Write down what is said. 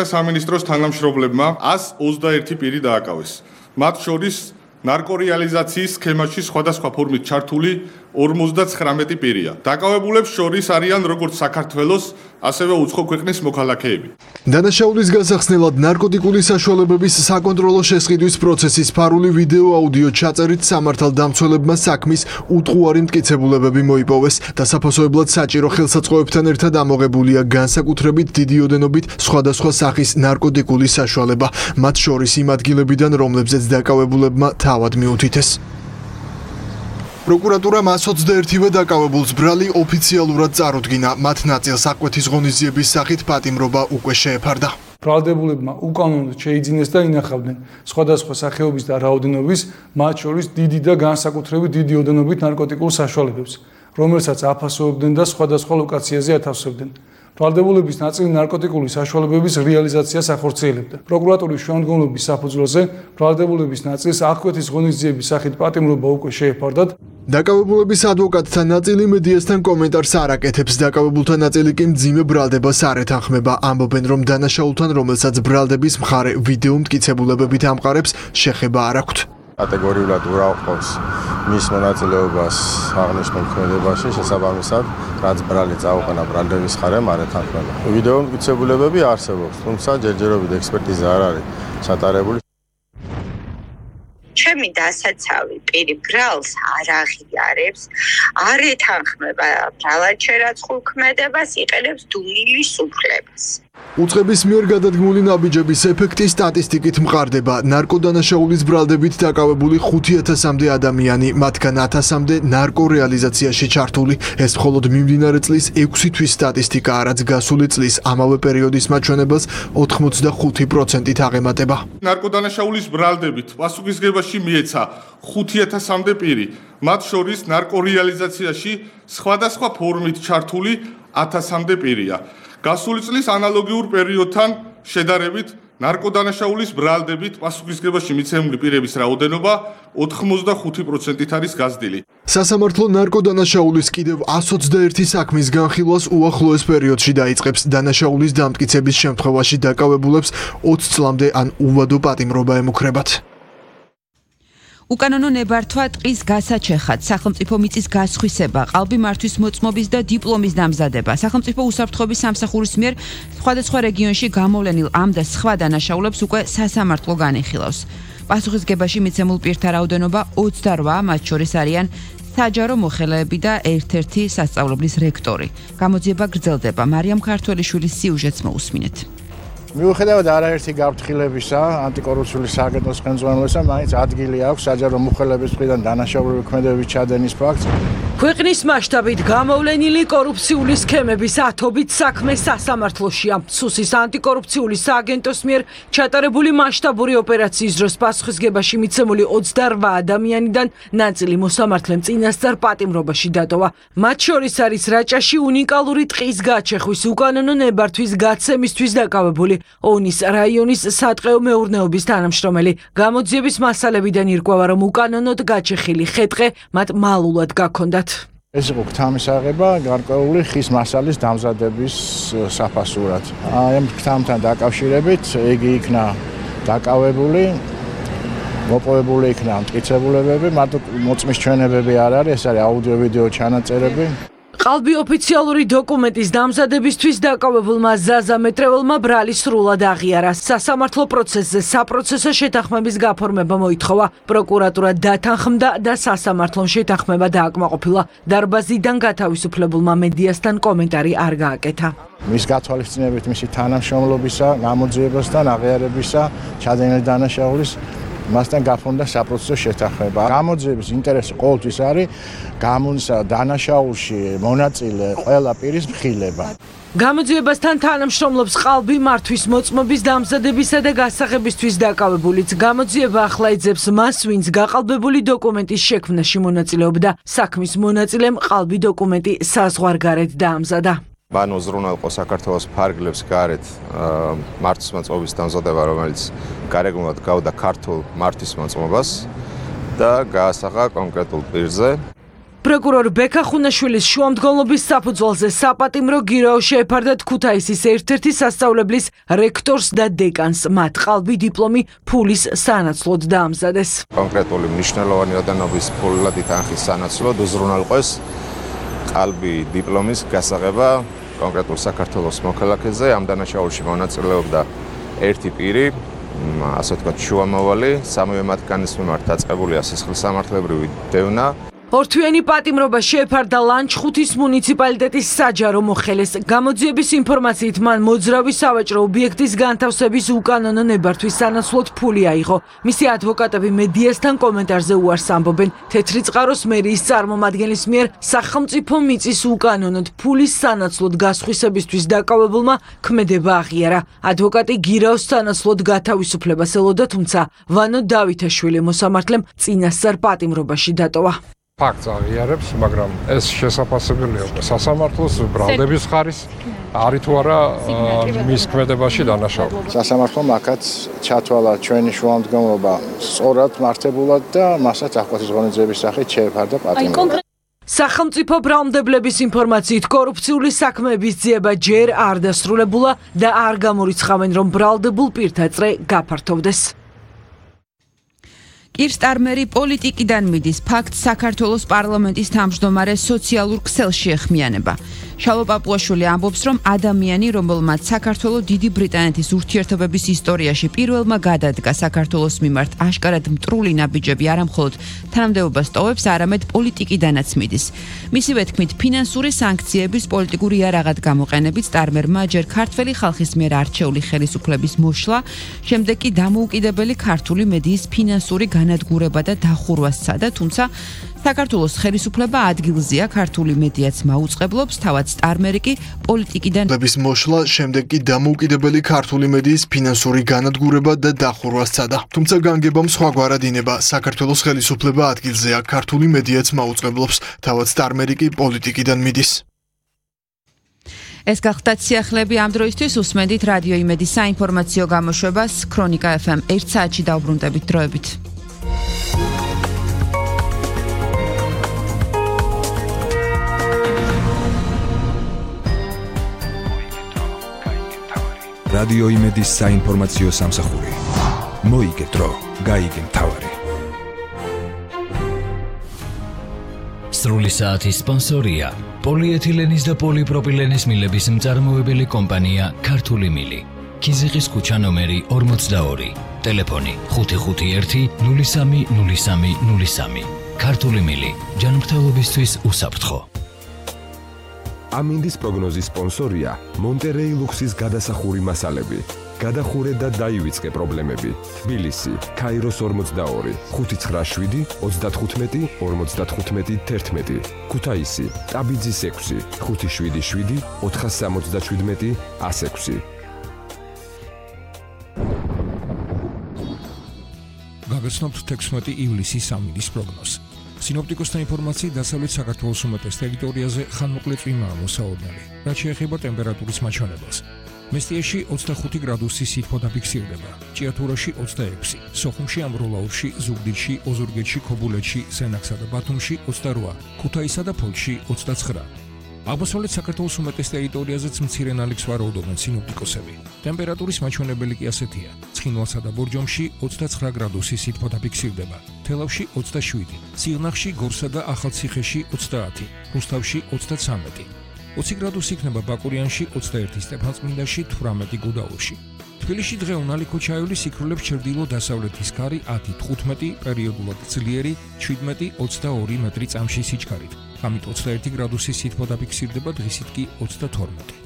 სამინისტროს თანამშრომლებმა 121 პირი დააკავეს. მათ შორის ნარკორეალიზაციის სქემაში სხვადასხვა ფორმით ჩართული 59 პირია. დაკავებულებს შორის არიან როგორც საქართველოს, ასევე უცხო ქვეყნის მოქალაქეები. დანაშაულის გასახსნელად ნარკოტიკული საშუალებების საკონტროლო შესყიდვის პროცესის ფარული ვიდეო აუდიო ჩაწერით სამართალდამცველებმა საქმის უტყუარი მტკიცებულებები მოიპოვეს და საფასოებლად საჭირო ხელსაწყოებთან ერთად ამოღებულია განსაკუთრებით დიდი ოდენობით სხვადასხვა სახის ნარკოტიკული საშუალება, მათ შორის იმ ადგილებიდან, რომლებზეც დაკავებულებმა თავად მიუთითეს. პროკურატურამ 121-ვე დაკავებულს ბრალი ოფიციალურად წარუდგინა, მათ ნაწილს აკვეთის ღონისძიების სახით პატიმრობა უკვე შეეფარდა. ბრალდებულებმა უკანონოდ შეიძინეს და ინახავდნენ სხვადასხვა სახეობის და რაოდენობის, მათ შორის დიდი და განსაკუთრებით დიდი ოდენობით ნარკოტიკულ საშუალებებს, რომელსაც აფასოვებდნენ და სხვადასხვა ლოკაციაზე ათავსებდნენ. ბრალდებულების ნაწილი ნარკოტიკული საშუალებების რეალიზაციას ახორციელებდა. პროკურატურის შემდგომლობის საფუძველზე ბრალდებულების ნაწილს აკვეთის ღონისძიების სახით პატიმრობა უკვე შეეფარდათ. დაკავებულების ადვოკატთა ნაწილი მედიასთან კომენტარს არ აკეთებს, დაკავებულთა ნაწილი კი მძიმე ბრალდებას არ ეთანხმება, ამბობენ, რომ დანაშაულთან, რომელსაც ბრალდების მხარე ვიდეო მტკიცებულებებით ამყარებს, შეხება არ აქვთ. კატეგორიულად ურაუყობს მის მონაწილეობას აღნიშნულ ქმედებაში, შესაბამისად, რაც ბრალი წაუყენა ბრალდების მხარემ არ ეთანხმება. ვიდეო მტკიცებულებები არსებობს, თუმცა ჯერჯერობით ექსპერტიზა არ არის ჩატარებული. ჩემი დასაცავი პირი ბრალს არ აღიარებს, არ ეთანხმება ბრალაჩერაცხულ ქმედებას, იყენებს დუმილის უფლებას. უწყების მიერ გადადგმული ნაბიჯების ეფექტი სტატისტიკით მყარდება. ნარკოდანაშაულის ბრალდებით დაკავებული 5000-მდე ადამიანი, მათგან 1000-მდე ნარკორეალიზაციაში ჩართული. ეს მხოლოდ მიმდინარე წლის 6 თვის სტატისტიკაა, რაც გასული წლის ამავე პერიოდის მაჩვენებელს 85%-ით აღემატება. ნარკოდანაშაულის ბრალდებით პასუხისგებაში მიეცა 5000-მდე პირი, მათ შორის ნარკორეალიზაციაში სხვადასხვა ფორმით ჩართული 1000-მდე პირია. გასული წლის ანალოგიურ პერიოდთან შედარებით ნარკოდანაშაულის ბრალდებით პასუხისგებაში მიცემული პირების რაოდენობა 85%-ით არის გაზრდილი. სასამართლო ნარკოდანაშაულის კიდევ 121 საქმის განხილვას უახლოეს პერიოდში დაიწყებს. დანაშაულის დამტკიცების შემთხვევაში დაკავებულებს 20 წლამდე ან უვადო პატიმრობა ემუქრებათ. უკანონო ნებართვა ტყის გასაჩეხად, სახელმწიფო მიწის გასხვისება, ყალბი მართვის მოწმობის და დიპლომის დამზადება, სახელმწიფო უსაფრთხოების სამსახურის მიერ სხვადასხვა რეგიონში გამოვლენილ ამ და სხვა დანაშაულებს უკვე სასამართლო განიხილავს. პასუხისგებაში მიცემულ პირთა რაოდენობა 28, მათ შორის არიან საჯარო მოხელეები და ერთ-ერთი სასწავლებლის რექტორი. გამოძიება გრძელდება. მარიამ ქართველიშვილის სიუჟეტს მოусმინეთ. მიუხედავად არაერთი გაფრთხილებისა, ანტიკორუფციული სააგენტოს ხელმძღვანელობისა, მაინც ადგილი აქვს საჯარო მოხელეების მხრიდან დანაშაულური ქმედებების ჩადენის ფაქტს. ქვეყნის მასშტაბით გამოვლენილი კორუფციული სქემების ათობით საქმე სასამართლოშია. სუსის ანტიკორუფციული სააგენტოს მიერ ჩატარებული მასშტაბური ოპერაციის დროს პასუხისგებაში მიცემული 28 ადამიანიდან ნაწილი მოსამართლემ წინასწარ პატიმრობაში დატოვა. მათ შორის არის რაჭაში უნიკალური ტყის გაჩეხვის უკანონო ნებართვის გაცემისთვის დაკავებული ონის რაიონის სატყეო მეურნეობის თანამშრომელი. გამოძიების მასალებიდან ირკვევა, რომ უკანონოდ გაჩეხილი ხე-ტყე მათ მალულად გაქონდათ. ეს იყო გთამისაღება გარკვეული ხის მასალის დამზადების საფასურად. ამ გთამთან დაკავშირებით იგი იქნა დაკავებული, მოპოვებული იქნა მტკიცებულებები, მარტო მოწმის ჩვენებები არ არის, ეს არის აუდიო-ვიდეო ჩანაწერები. ყალბი ოფიციალური დოკუმენტის დამზადებისთვის დაკავებულმა ზაზა მეტრეველმა ბრალი სრულად აღიარა. სასამართლო პროცესზე საპროცესო შეთანხმების გაფორმება მოითხოვა. პროკურატურა დათანხმდა და სასამართლომ შეთანხმება დააკმაყოფილა. დარბაზიდან გათავისუფლებულმა მედიასთან კომენტარი არ გააკეთა. მის გათვალისწინებით მისი თანამშრომლობისა, გამოძიებასთან, აღიარებისა, ჩადენილი დანაშაულის მასთან გაფორმდა საპროცესო შეთანხმება. გამოძიების ინტერესი ყოველთვის არის გამონისა დანაშაულში მონაწილე ყველა პირის მხილება. გამოძიებასთან თანამშრომლობს ყალბი მართვის მოწმობის დამზადებისა და გასაღებისთვის დაკავებულიც. გამოძიება ახლა ეძებს მას, ვინც გაყალბებული დოკუმენტის შექმნაში მონაწილეობდა. საქმის მონაწილემ ყალბი დოკუმენტი საზღვარგარეთ დაამზადა. ბანო ზრუნველყო საქართველოს ფარგლებს გარეთ მართვის მოწმობის დამზადება, რომელიც გარეგნულად გავდა ქართულ მართვის მოწმობას და გაასაღა კონკრეტულ პირზე. პროკურორ ბექა ხუნაშვილის შუამდგომლობის საფუძველზე საპატიმრო გირაო შეეფარდა ქუთაისის ერთ-ერთი სასწავლებლის რექტორს და დეკანს. მათ ყალბი დიპლომი ფულის სანაცვლოდ დაამზადეს. კონკრეტული მნიშვნელოვანი ოდენობის ფულადი თანხის სანაცვლოდ უზრუნველყვეს ყალბი დიპლომის გასაღება კონკრეტულ საქართველოს მოქალაქეზე. ამ დანაშაულში მონაწილეობდა ერთი პირი, ასე ვთქვათ, შუამავალი, სამივე მათგანის მიმართ დაწყებულია სისხლისამართლებრივი დევნა. ორთვიანი პატიმრობა შეეფარდა ლანჩხუთის მუნიციპალიტეტის საჯარო მოხელეს. გამოძიების ინფორმაციით მან მოძრავი სავაჭრო ობიექტის განთავსების უკანონო ნებართვის სანაცვლოდ ფული აიღო. მისი ადვოკატები მედიასთან კომენტარზე უარს ამბობენ. თეთრი წყაროს მერიის წარმომადგენლის მიერ სახელმწიფო მიწის უკანონოდ ფულის სანაცვლოდ გასხვისებისთვის დაკავებულმა ქმედება აღიარა. ადვოკატი გირაოს სანაცვლოდ გათავისუფლებას ელოდა, თუმცა ვანო დავითაშვილი მოსამართლემ წინასწარ პატიმრობაში დატოვა. ფაქტს აღიარებს, მაგრამ ეს შესაძლებელი სასამართლოს ბრალდების ხარის არის თუ არა მის ქმედებაში დანაშაული. სასამართლომ აქაც ჩათვალა ჩვენი შუამდგომლობა სწორად მართებულად და მასაც აღკვეთის ღონისძიების სახით შეეფარდა პატიმრობა. სახელმწიფო ბრალმდებლების ინფორმაციით კორუფციული საქმეების ძიება ჯერ არ დასრულებულა და არ გამორიცხავენ, რომ ბრალდებულ პირთა წრე გაფართოვდეს. კირ სტარმერი პოლიტიკიდან მიდის ფაქტს საქართველოს პარლამენტის თავმჯდომარე სოციალურ ქსელში ეხმიანება. შალო პაპუაშვილი ამბობს, რომ ადამიანი, რომელმაც საქართველოს დიდი ბრიტანეთის ურთიერთობების ისტორიაში პირველმა გადადგა საქართველოს მიმართ აშკარად მტრული ნაბიჯები არამხოლოდ თანამდებობას ტოვებს, არამედ პოლიტიკიდანაც მიდის. მისივე თქმით, ფინანსური სანქციების პოლიტიკური იარაღად გამოყენებით სტარმერმა ჯერ ქართველი ხალხის მიერ არჩეული ხელისუფლების მოშლა, შემდეგ კი დამოუკიდებელი ქართული მედიის ფინანსური განადგურება და დახურვა სცადა, თუმცა საქართველოს ხელისუფლება ადგილზეა, ქართული მედიაც მაუწყებლობს, თავად სტარმერი კი პოლიტიკიდან მოსვლა, შემდეგ კი დამოუკიდებელი ქართული მედიის ფინანსური განადგურება და დახურვა სცადა. თუმცა განგებამ სხვაგვარად ინება, საქართველოს ხელისუფლება ადგილზეა, ქართული მედიაც მაუწყებლობს, თავად სტარმერი კი პოლიტიკიდან მიდის. ეს გახდათ სიახლეები ამ დროისთვის. უსმენდით რადიო იმედის საინფორმაციო გამოშვებას. ქრონიკა FM 1 საათში დაუბრუნდებით დროებით. რადიო იმედის საინფორმაციო სამსახური. მოიგეთ დრო, გაიგე მთავარი. სრული საათის სპონსორია პოლიეთილენის და პოლიპროპილენის მილების მწარმოებელი კომპანია ქართული მილი. ქიზიყის ქუჩა ნომერი 42. ტელეფონი 551 03 03 03. ქართული მილი. ჯანმრთელობისთვის უსაფრთხო. ამინდის პროგნოზის სპონსორია მონტერეი ლუქსის გადასახური მასალები. გადახურე და დაივიწყე პრობლემები. თბილისი, ქაიროს 42, 597 35 55 11. ქუთაისი, ტაბიძის 6, 577 477 106. გაგაცნობთ 16 ივლისის ამინდის პროგნოზს. სინოპტიკოსთა ინფორმაციით დასავლეთ საქართველოს უმეტეს ტერიტორიაზე ხანმოკლე წვიმაა მოსაოდნელი, რაც შეეხება ტემპერატურის მაჩვენებელს. მესტიაში 25 გრადუსი სითბო დაფიქსირდება, ჭიათურაში 26, სოხუმში, ამბროლაურში, ზუგდიდში, ოზურგეთში, ქობულეთში, სენაქსა და ბათუმში 28, ქუთაისსა და ფოთში 29. აღმოსავლეთ საქართველოს უმეტეს ტერიტორიაზეც მცირე ნალექს ვარაუდობენ სინოპტიკოსები. ტემპერატურის მაჩვენებელი კი ასეთია: ცხინვალსა და ბორჯომში 29 გრადუსი სითბო დაფიქსირდება, თელავში 27, სიღნაღში, გორსა და ახალციხეში 30, რუსთავში 33. 20 გრადუსი იქნება ბაკურიანში, 21 სტეფანწმინდაში, 18 გუდაურში. თბილისში დღე უნალიქო ჩაივლის იქრულებს ჩრდილო-დასავლეთის ქარი 10-15, პერიოდულად ძლიერი 17-22 მეტრი წამში სიჩქარით. ამით 21 გრადუსი სითბო დაფიქსირდება, დღისით კი 32.